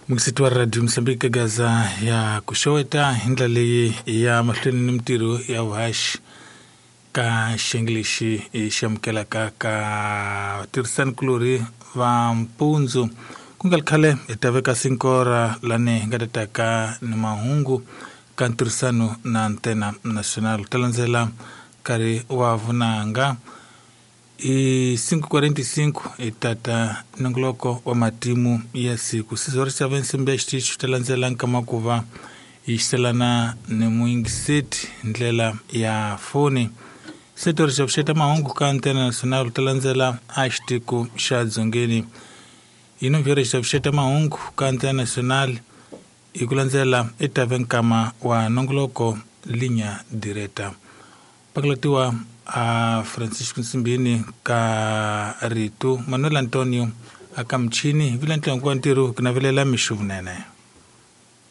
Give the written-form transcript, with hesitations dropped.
Mukisiti wa Radio Mozambique Gaza ya ku xeweta hi ndlela leyi ya mahlweni ni mintirho ya vuhaxi ka xiyenge lexi hi xi amukelaka ka tirhisani-kulorhi va mpundzu. Ku nga ri khale hi ta veka sinkora lani hi nga ta taka ni mahungu ka ntirhisano na Antena Nacional. Ta landzela nkarhi wa vunanga i 5:45 hi tata nongoloko wa matimu ya siku. Sizori xa nsimbi ya xitichi ta landzela nkama ku va hi xiselana ni muyingiseti hi ndlela ya foni. Setori xa vuxeta mahungu ka Antena Nacional ta landzela a xitiko xa Dzongeni. Hi novheri xa vuxeta mahungu ka Antena Nacional hi ku landzela i tave nkama wa nongoloko Linha Direta. Pakulatiwa a Francisco Nsimbini ka rito Manuel Antonio a ka muchini vila ntlangu wa ntirho ku navelela mixo vunene.